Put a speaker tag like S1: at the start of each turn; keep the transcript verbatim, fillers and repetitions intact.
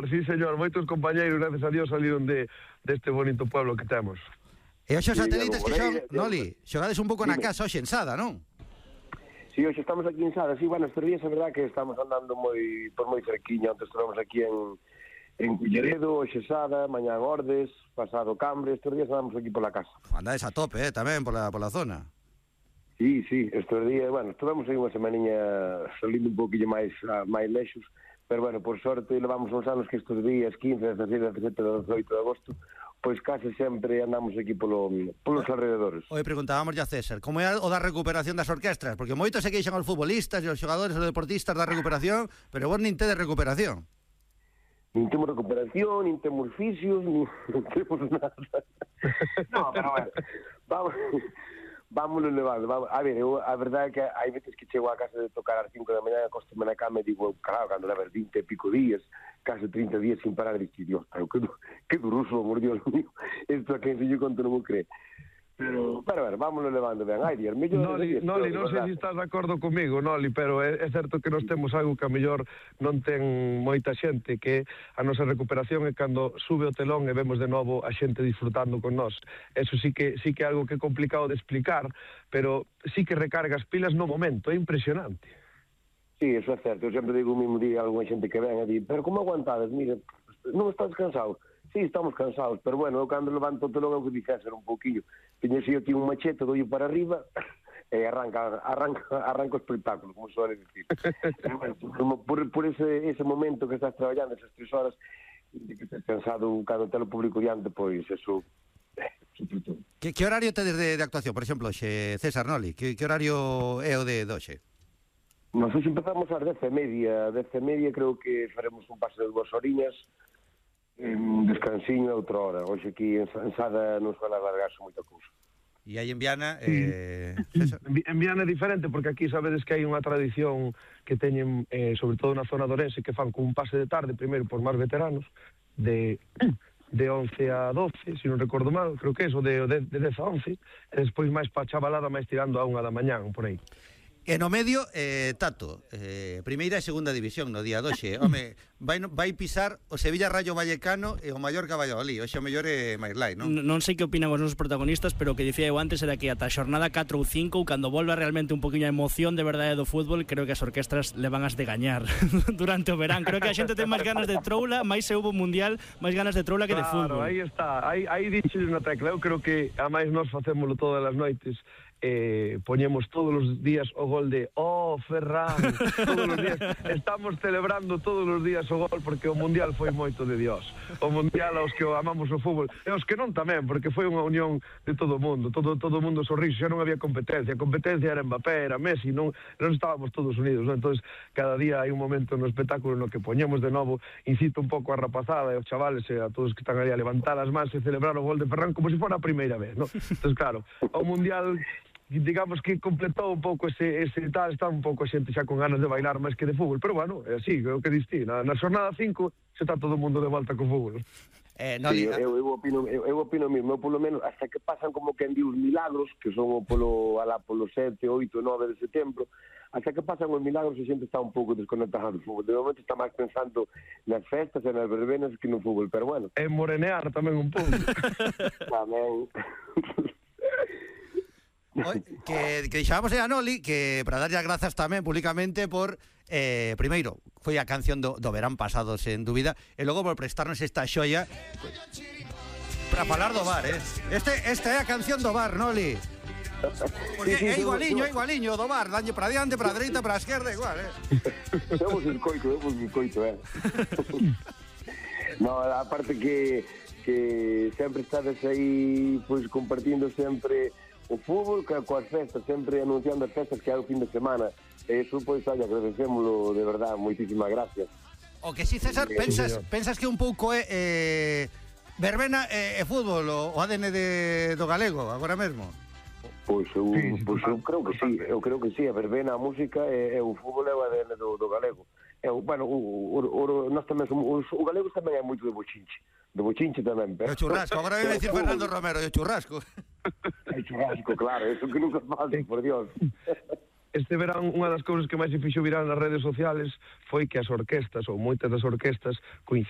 S1: sí, señor, moitos compañeiros, gracias a Dios, saliron de deste bonito pueblo que temos.
S2: E hoxe os satélites que son, Noli, xogades un pouco na casa hoxe en Sada, non?
S3: Si, sí, hoxe estamos aquí en Sada, sí, bueno, estes días é verdad que estamos andando moi por moi cerquiña, antes estamos aquí en en Culleredo, hoxe Sada, mañá Ordes, pasado Cambre, estes días andamos aquí pola casa.
S2: Andades a tope, eh, tamén pola pola zona.
S3: Sí, sí, estes días, bueno, estuvemos aí unha semaniña salindo un pouquinho máis máis lexos, pero bueno, por sorte levamos uns anos que estes días, quince, dezasete, dezasete, dezoito de agosto, pois case sempre andamos aquí polo, polos alrededores.
S2: Oi, preguntábamos ya a César, como é o da recuperación das orquestras? Porque moitos se queixan os futbolistas e os xogadores e os deportistas da recuperación, pero vos nin tedes recuperación.
S3: Nin temos recuperación, nin temos fisios, nin non temos nada. No, pero bueno, vamos... Vámonos levando, vamos. A ver, eu, a verdade é que hai veces que chego a casa de tocar ás cinco da mañá, acostome na cama e digo, claro, cando leves vinte e pico días, case trinta días sin parar, e digo, Dios, pero que, que duroso, amor, Dios mío, isto a quen se yo conto non me cree. Pero, pero, a ver, vámonos levando ben. Ai, Dios, mellor...
S1: Noli, Noli, non sei se estás de acordo comigo, Noli, pero é, é certo que nos temos algo que a mellor non ten moita xente, que a nosa recuperación é cando sube o telón e vemos de novo a xente disfrutando con nós. Eso sí que sí que é algo que é complicado de explicar, pero sí que recargas pilas no momento, é impresionante.
S3: Sí, eso é certo. Eu sempre digo o mismo día a alguna xente que ven e di, pero como aguantades? Mira, non estás cansado? Sí, estamos cansados, pero bueno, eu cando levanto o telón é o que dixer un pouquinho. Tiñese eu tío un machete, doio para arriba e arranca arranca, arranca o espectáculo, como suele decir. Bueno, por, por ese, ese momento que estás traballando, esas tres horas, de que estás cansado cando te lo público diante, pois eso...
S2: Que, que horario tedes de, de actuación? Por exemplo, xe, César, Noli, que, que horario é o de hoxe?
S3: Nos hoxe empezamos ás dez e media, dez e media creo que faremos un pase de dúas horiñas, un descansiño a outra hora. Hoxe aquí en Sada non suele alargarse moita cousa.
S2: E aí en Viana... Eh...
S1: En Viana é diferente, porque aquí sabedes que hai unha tradición que teñen, eh, sobre todo na zona de Ourense, que fan con un pase de tarde, primeiro por máis veteranos, de... de once a doce, se non recordo mal, creo que é eso, de, de, de dez a once, e despois máis pa chavalada, máis tirando a unha da mañán, por aí.
S2: E no medio, eh, Tato, eh, primeira e segunda división no día doxe. Home, vai, vai pisar o Sevilla Rayo Vallecano e o Mallorca Valladolid. Oxe o mellor é máis light, non?
S4: Non sei que opinan os nosos protagonistas, pero o que dicía eu antes era que ata a xornada catro ou cinco, cando volva realmente un poquinho a emoción de verdade do fútbol, creo que as orquestras le van as de gañar durante o verán. Creo que a xente ten máis ganas de troula, máis se hubo mundial, máis ganas de troula que
S1: claro,
S4: de fútbol.
S1: Aí está, aí, aí diches na tecla. Eu creo que a máis nós facémolo todas as noites. Eh, poñemos todos os días o gol de oh, Ferran, todos os días estamos celebrando todos os días o gol, porque o Mundial foi moito de Dios, o Mundial aos que amamos o fútbol e aos que non tamén, porque foi unha unión de todo o mundo, todo, todo o mundo sorriso, xa non había competencia, a competencia era Mbappé, era Messi, non, non estábamos todos unidos, non? Entonces cada día hai un momento no espectáculo no que poñemos de novo, incito un pouco a rapazada e aos chavales e a todos que están aí a levantar as mans e celebrar o gol de Ferran como se fora a primeira vez, non? Entonces claro, o Mundial digamos que completou un pouco ese, ese tal, está un pouco a xente xa con ganas de bailar máis que de fútbol, pero bueno, é así, é o que diste, na, na xornada cinco se está todo o mundo de volta co fútbol.
S2: Eh, no,
S3: sí, eu, eu, opino, eu, eu opino mesmo, eu polo menos, hasta que pasan como que en di os milagros, que son o polo, alá polo sete, oito, nove de setembro, hasta que pasan os milagros a xente está un pouco desconectada do fútbol. De momento está máis pensando nas festas e nas verbenas que no fútbol, pero bueno.
S1: En morenear tamén un pouco.
S3: Tamén...
S2: Oi, que, que deixábamos a Noli que para darlle as grazas tamén públicamente por eh, primeiro, foi a canción do, do verán pasado sen dúbida e logo por prestarnos esta xoia para falar do bar, eh? Este, esta é a canción do bar, Noli. Porque sí, sí, é igualiño, é igualiño do bar, daño para diante, para a dereita, para a esquerda, igual, eh?
S3: Vemos el coito, vemos el coito, eh? No, aparte que, que sempre estades aí pois compartindo sempre o fútbol que coas festas, sempre anunciando as festas que hai o fin de semana. E iso, pois, olha, agradecémolo de verdade, moitísimas gracias.
S2: O que si, César, pensas, sí, pensas que un pouco é eh, verbena e, e fútbol, o, o A D N de, do galego, agora mesmo?
S3: Pois eu, sí, pois eu creo que sí, eu creo que sí, a verbena, a música e, e o fútbol é o A D N do, do galego. É, bueno, o, o, o, nós tamén somos, o, o galego tamén é moito de bochinche. De bochinche tamén, pero...
S2: O churrasco, agora vai decir Fernando Romero, o churrasco.
S3: O churrasco, claro, eso que nunca faz, por Dios.
S1: este verán unha das cousas que máis se fixo viral nas redes sociales foi que as orquestas, ou moitas das orquestas, coincidían